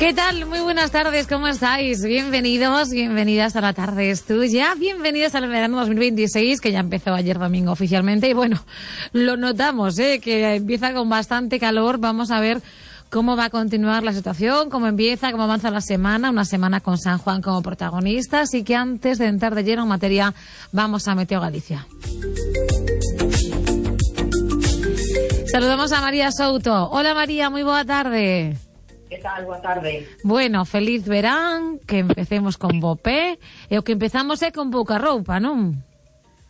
¿Qué tal? Muy buenas tardes, ¿cómo estáis? Bienvenidos, bienvenidas a La Tarde es Tuya, bienvenidas al verano 2026, que ya empezó ayer domingo oficialmente, y bueno, lo notamos, que empieza con bastante calor. Vamos a ver cómo va a continuar la situación, cómo empieza, cómo avanza la semana, una semana con San Juan como protagonista, así que antes de entrar de lleno en materia, vamos a Meteo Galicia. Saludamos a María Souto. Hola María, muy boa tarde. Que tal? Boa tarde. Bueno, feliz verán, que empecemos con bo pé, e o que empezamos é con pouca roupa, non?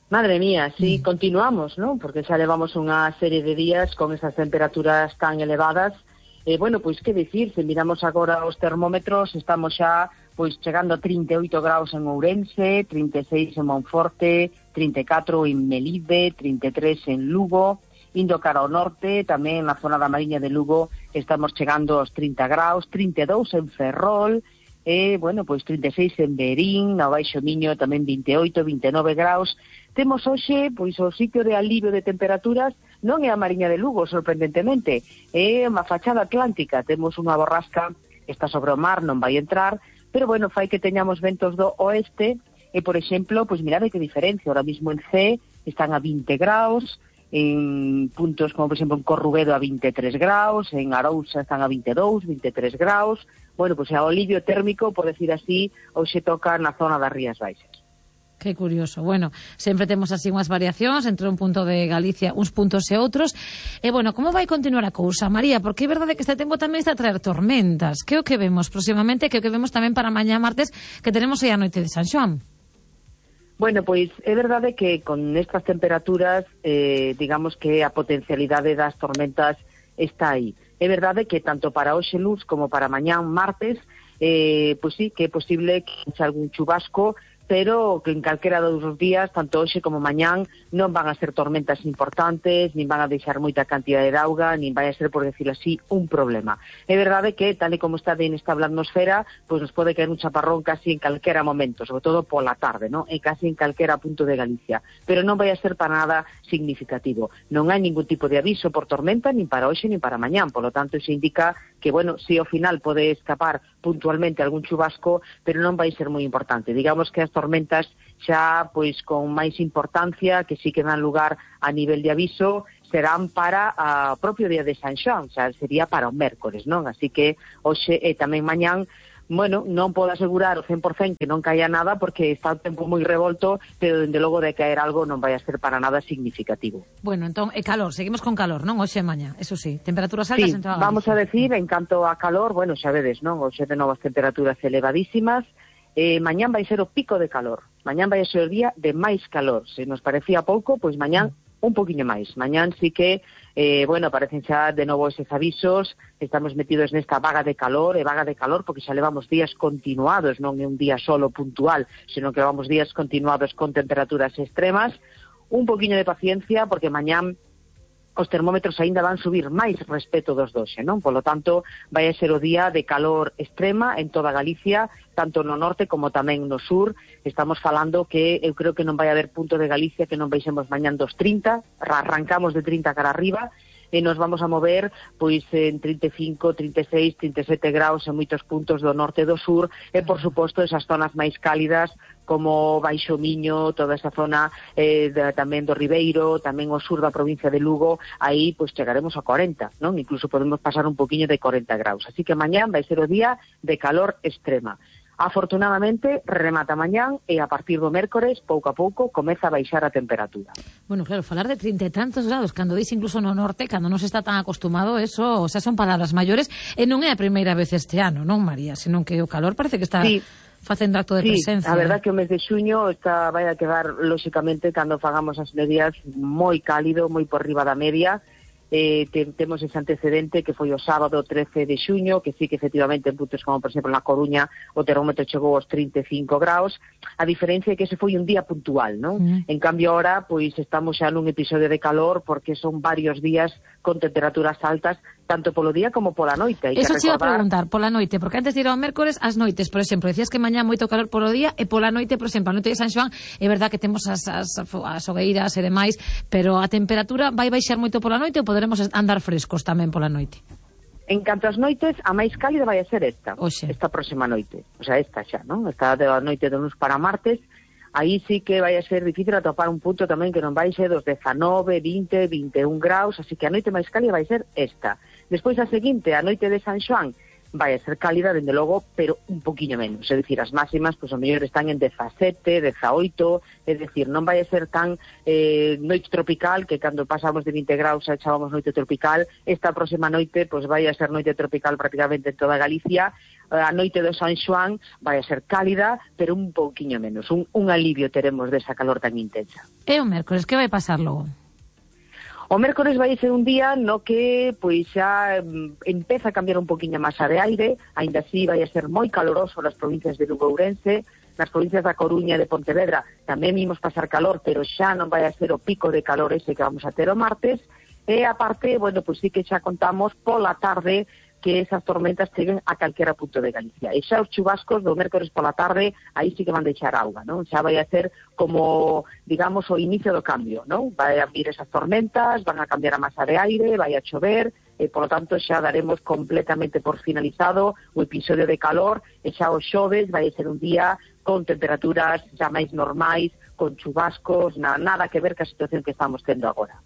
Madre mía, sí, continuamos, non? Porque xa levamos unha serie de días con esas temperaturas tan elevadas. Bueno, pois que dicir, se miramos agora os termómetros, estamos xa pois chegando a 38 graus en Ourense, 36 en Monforte, 34 en Melide, 33 en Lugo. Indo cara ao norte, tamén na zona da Mariña de Lugo, estamos chegando aos 30 graus, 32 en Ferrol, bueno, pois 36 en Berín, na Baixo Miño tamén 28, 29 graus. Temos hoxe, pois, o sitio de alivio de temperaturas non é a Mariña de Lugo, sorprendentemente, é unha fachada atlántica. Temos unha borrasca, está sobre o mar, non vai entrar, pero, bueno, fai que teñamos ventos do oeste, e, por exemplo, pois mirade que diferencia, ahora mismo en C están a 20 graus, en puntos como, por exemplo, en Corrubedo a 23 graus, en Arousa están a 22, 23 graus. Bueno, pois o alivio térmico, por decir así, hoxe toca na zona das Rías Baixas. Que curioso. Bueno, sempre temos así unhas variacións entre un punto de Galicia, uns puntos e outros. E, bueno, como vai continuar a cousa, María? Porque é verdade que este tempo tamén está a traer tormentas. Que é o que vemos próximamente, que é o que vemos tamén para mañá martes, que tenemos aí a noite de San Xoán? Bueno, pois é verdade que con estas temperaturas, digamos que a potencialidade das tormentas está aí. É verdade que tanto para hoxe luz como para mañán martes, pois sí, que é posible que haxa algún chubasco, pero que en calquera dos días, tanto hoxe como mañán, non van a ser tormentas importantes, nin van a deixar moita cantidade de auga, nin vai a ser, por decirlo así, un problema. É verdade que, tal e como está de inestable a atmosfera, pois nos pode caer un chaparrón casi en calquera momento, sobre todo pola tarde, non? E casi en calquera punto de Galicia. Pero non vai a ser para nada significativo. Non hai ningún tipo de aviso por tormenta, nin para hoxe, nin para mañán. Por lo tanto, iso indica que, bueno, si ao final pode escapar puntualmente algún chubasco, pero non vai ser moi importante. Digamos que as tormentas xa, pois, con máis importancia, que sí que dan lugar a nivel de aviso, serán para o propio día de San Xoán, xa sería para o mércores, non? Así que hoxe e tamén mañán, bueno, non podo asegurar o 100% que non caia nada, porque está o tempo moi revolto, pero dende logo de caer algo non vai a ser para nada significativo. Bueno, entón, calor, seguimos con calor, non? Hoxe e mañá, eso sí, temperaturas altas sí, en toda Galicia. Vamos a decir, en canto a calor, bueno, xa vedes, non? Hoxe de novas temperaturas elevadísimas. Mañán vai ser o pico de calor. Mañán vai ser o día de máis calor. Se nos parecía pouco, pois mañán un poquinho máis. Mañán sí que, bueno, aparecen xa de novo eses avisos. Estamos metidos nesta vaga de calor, porque xa levamos días continuados, non é un día solo puntual, senón que levamos días continuados con temperaturas extremas. Un poquinho de paciencia, porque mañán os termómetros aínda van subir máis respecto dos doxe, non? Polo tanto, vai a ser o día de calor extrema en toda Galicia, tanto no norte como tamén no sur. Estamos falando que eu creo que non vai haber punto de Galicia que non baixemos mañán dos 30, arrancamos de 30 cara arriba, e nos vamos a mover pois en 35, 36, 37 graus en moitos puntos do norte e do sur, e por suposto esas zonas máis cálidas como Baixo Miño, toda esa zona tamén do Ribeiro, tamén o sur da provincia de Lugo, aí pois chegaremos a 40, non? Incluso podemos pasar un poquinho de 40 graus. Así que mañán vai ser o día de calor extrema. Afortunadamente, remata mañán e a partir do mércores, pouco a pouco, comeza a baixar a temperatura. Bueno, claro, falar de 30 e tantos graus, cando dis incluso no norte, cando non se está tan acostumado, eso, o sea, son palabras maiores, e non é a primeira vez este ano, non, María? Senón que o calor parece que está facendo acto de presencia. A verdad que o mes de xuño vai a quedar, lóxicamente, cando fagamos as medias, moi cálido, moi por riba da media. Temos ese antecedente que foi o sábado 13 de xuño, que sí que efectivamente en puntos como, por exemplo, na Coruña o termómetro chegou aos 35 graus. A diferencia é que ese foi un día puntual, non? En cambio, ahora, pois, estamos xa nun episodio de calor, porque son varios días con temperaturas altas, tanto polo día como pola noite. Eso te iba a preguntar, pola noite, porque antes de ir ao mércores, as noites, por exemplo, decías que mañá moito calor polo día, e pola noite, por exemplo, a noite de San Xoán, é verdad que temos as hogueiras e demais, pero a temperatura vai baixar moito pola noite ou poderemos andar frescos tamén pola noite? En canto ás noites, a máis cálida vai a ser esta próxima noite. O sea, esta xa, non? Esta da noite do luns para martes, aí sí que vai a ser difícil atopar un punto tamén que non vai ser dos 19, 20, 21 graus, así que a noite máis cálida vai ser esta. Despois a seguinte, a noite de San Xoán, vai a ser cálida, dende logo, pero un poquinho menos. É dicir, as máximas, pois, o mellor están en 17, 18, é dicir, non vai a ser tan noite tropical, que cando pasamos de 20 graus xa chábamos noite tropical. Esta próxima noite, pois, vai a ser noite tropical prácticamente en toda Galicia. A noite do San Xoán vai a ser cálida, pero un pouquiño menos. Un alivio teremos desa calor tan intensa. E o mércores, que vai pasar logo? O mércores vai ser un día no que pois xa empeza a cambiar un poquinho a masa de aire, aínda así vai a ser moi caloroso nas provincias de Lugo e Ourense, nas provincias da Coruña e de Pontevedra tamén vimos pasar calor, pero xa non vai a ser o pico de calor ese que vamos a ter o martes, e aparte, bueno, pois sí que xa contamos pola tarde que esas tormentas cheguen a calquera punto de Galicia. E xa os chubascos do mércores pola tarde, aí sí que van deixar auga, non? Xa vai a ser como, digamos, o inicio do cambio, non? Vai a vir esas tormentas, van a cambiar a masa de aire, vai a chover, e, por lo tanto, xa daremos completamente por finalizado o episodio de calor, e xa o xoves vai a ser un día con temperaturas xa máis normais, con chubascos, nada que ver ca situación que estamos tendo agora.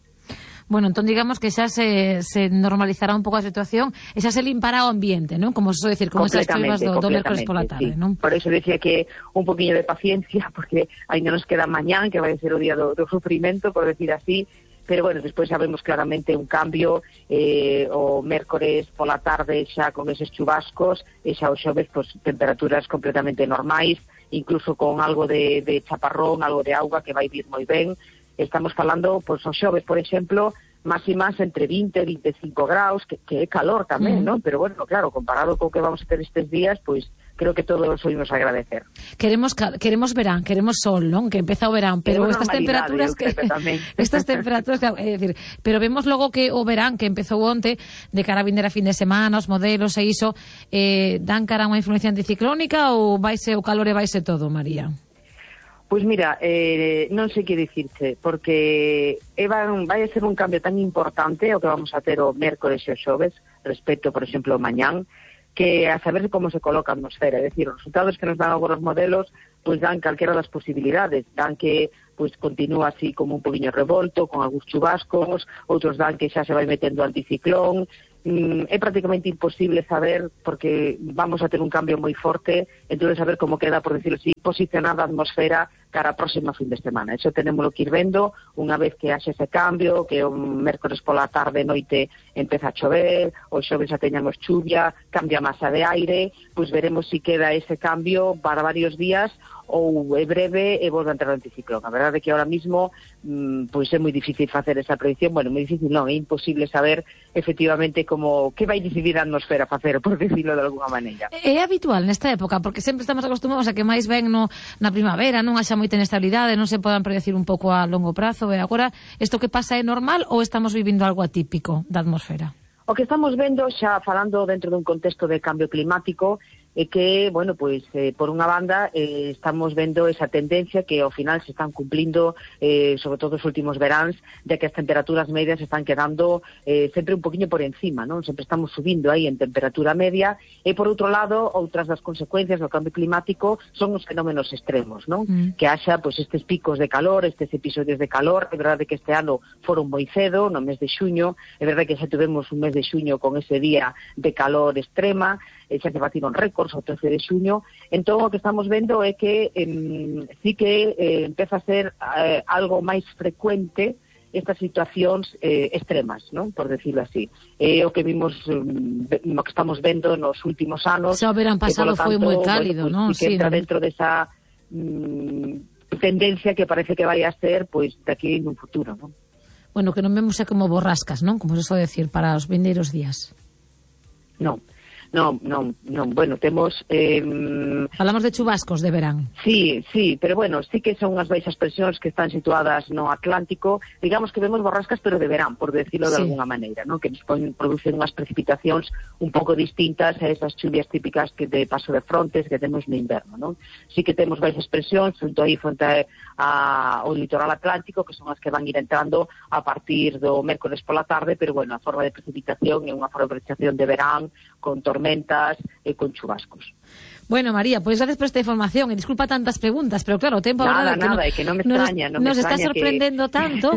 Bueno, entón digamos que xa se normalizará un pouco a situación e xa se limpará o ambiente, non? Como se decir, como esas choivas do mércores pola tarde, sí. Non? Por eso decía que un poquinho de paciencia, porque ainda nos queda mañán, que vai ser o día do sufrimento, por decir así, pero bueno, despois sabemos claramente un cambio, o mércores pola tarde xa con eses chubascos, e xa o xoves, pues, temperaturas completamente normais, incluso con algo de chaparrón, algo de auga que vai vir moi ben. Estamos falando, pois, o xoves, por exemplo, máximas entre 20 e 25 graus, que é calor tamén, non? Pero, bueno, claro, comparado co que vamos a ter estes días, pois, creo que todos os oímos agradecer. Queremos verán, queremos sol, non? Que empeza o verán, pero estas temperaturas estas temperaturas, é dicir, pero vemos logo que o verán que empezou onte, de cara a vindeira fin de semana, os modelos e iso, dan cara a unha influencia anticiclónica ou vaise o calor e vaise todo, María? Pois mira, non sei que dicirche, porque vai a ser un cambio tan importante o que vamos a ter o mércores e o xoves, respecto, por exemplo, o mañán, que a saber como se coloca a atmosfera, é dicir, os resultados que nos dan agora os modelos, pois dan calquera das posibilidades, dan que pois continúa así como un poquinho revolto, con algúns chubascos, outros dan que xa se vai metendo anticiclón. É prácticamente imposible saber, porque vamos a ter un cambio moi forte, entón saber como queda, por decirlo así, posicionada a atmosfera cara a próxima fin de semana. Eso tenémoslo que ir vendo unha vez que haxe ese cambio, que o mércores pola tarde noite empeza a chover, o xoves xa teñamos chuvia, cambia a masa de aire, pois veremos si queda ese cambio para varios días ou é breve e volve a entrar o anticiclón. A verdade é que ahora mismo pois é moi difícil facer esa predicción, bueno, moi difícil non, é imposible saber efectivamente como que vai decidir a atmosfera facer, por decirlo de alguna maneira. É habitual nesta época, porque sempre estamos acostumados a que máis ven na primavera, non haxa moita inestabilidade, non se podan predecir un pouco a longo prazo, e agora isto que pasa é normal ou estamos vivindo algo atípico da atmosfera? O que estamos vendo, xa falando dentro dun contexto de cambio climático, é que, bueno, pois, por unha banda, estamos vendo esa tendencia que ao final se están cumplindo, sobre todo os últimos veráns, de que as temperaturas medias están quedando sempre un poquinho por encima, non? Sempre estamos subindo aí en temperatura media, e por outro lado, outras das consecuencias do cambio climático son os fenómenos extremos, non? Que haxa, pois, estes picos de calor, estes episodios de calor. É verdade que este ano foron moi cedo, no mes de xuño, é verdade que xa tivemos un mes de xuño con ese día de calor extrema, xa se batiron récords o 13 de xuño. Entón, o que estamos vendo é que sí que empeza a ser algo máis frecuente estas situacións extremas, non? Por decirlo así. É o que vimos, o que estamos vendo nos últimos anos. Xa o verán pasado foi moi cálido, bueno, non? Sí, que entra dentro desa tendencia que parece que vai a ser, pois, daqui en un futuro, non? Bueno, que non vemos como borrascas, non? Como se só decir, para os vindeiros días. Non. Non, bueno, temos... Falamos de chubascos de verán. Sí, pero bueno, sí que son unhas baixas presións que están situadas no Atlántico, digamos que vemos borrascas, pero de verán, por decirlo de alguna maneira, ¿no? Que nos producen unhas precipitacións un pouco distintas a esas chuvias típicas que de paso de frontes que temos no inverno, ¿no? Sí que temos baixas presións fronte ao litoral atlántico, que son as que van ir entrando a partir do mércores pola tarde, pero bueno, a forma de precipitación é unha forma de precipitación de verán, con tormentas e con chubascos. Bueno, María, pues gracias por esta información y disculpa tantas preguntas, pero claro, o tempo agora que non me extraña, nos está sorprendendo tanto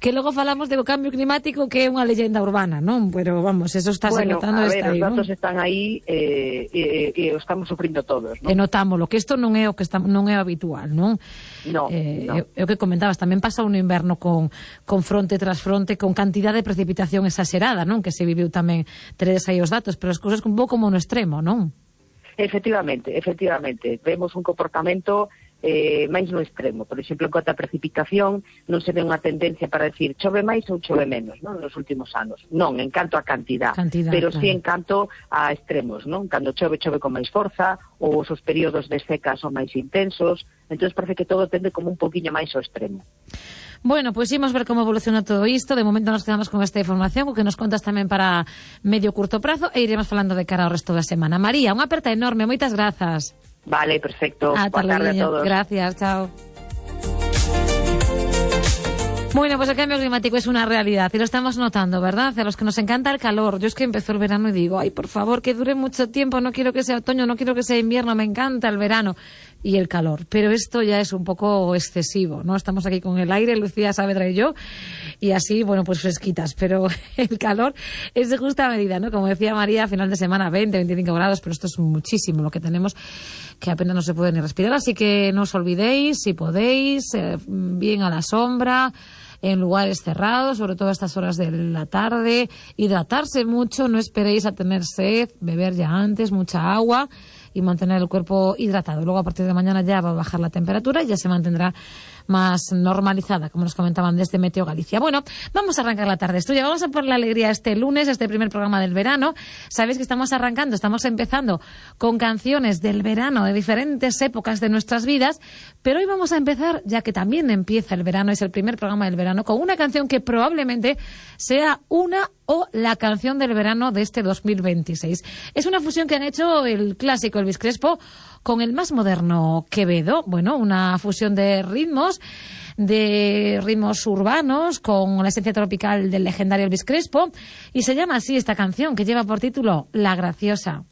que logo falamos de cambio climático que é unha leyenda urbana, non? Pero vamos, eso está notando, está aí, os datos están aí e o estamos sufrindo todos, non? E notámoslo, que isto non é o que non é habitual, non? No. É o que comentabas, tamén pasa un inverno con fronte tras fronte, con cantidad de precipitación exagerada, non? Que se viviu tamén, teredes aí os datos, pero as cousas un pouco como no extremo, non? Efectivamente, vemos un comportamento máis no extremo. Por exemplo, en cuanto a precipitación, non se ve unha tendencia para decir chove máis ou chove menos, non, nos últimos anos. Non, en canto a cantidad pero claro, sí en canto a extremos, non? Cando chove con máis forza, ou os períodos de seca son máis intensos, entón parece que todo tende como un poquinho máis ao extremo. Bueno, pues imos ver como evoluciona todo isto. De momento nos quedamos con esta información, o que nos contas tamén para medio curto prazo, e iremos falando de cara ao resto da semana. María, unha aperta enorme, moitas grazas. Vale, perfecto. Boa tarde a todos. Gracias, chao. Bueno, pues el cambio climático es una realidad y lo estamos notando, ¿verdad? A los que nos encanta el calor. Yo es que empezó el verano y digo, ay, por favor, que dure mucho tiempo, no quiero que sea otoño, no quiero que sea invierno, me encanta el verano y el calor. Pero esto ya es un poco excesivo, ¿no? Estamos aquí con el aire, Lucía Saavedra y yo, y así, bueno, pues fresquitas. Pero el calor es de justa medida, ¿no? Como decía María, a final de semana 20, 25 grados, pero esto es muchísimo lo que tenemos, que apenas no se puede ni respirar. Así que no os olvidéis, si podéis, bien a la sombra, en lugares cerrados, sobre todo a estas horas de la tarde, hidratarse mucho, no esperéis a tener sed, beber ya antes mucha agua y mantener el cuerpo hidratado. Luego a partir de mañana ya va a bajar la temperatura y ya se mantendrá más normalizada, como nos comentaban desde Meteo Galicia. Bueno, vamos a arrancar la tarde estudia, vamos a por la alegría este lunes, este primer programa del verano. Sabéis que estamos empezando con canciones del verano de diferentes épocas de nuestras vidas, pero hoy vamos a empezar, ya que también empieza el verano, es el primer programa del verano, con una canción que probablemente sea una o la canción del verano de este 2026. Es una fusión que han hecho el clásico Elvis Crespo con el más moderno Quevedo. Bueno, una fusión de ritmos urbanos con la esencia tropical del legendario Elvis Crespo, y se llama así esta canción, que lleva por título La Graciosa.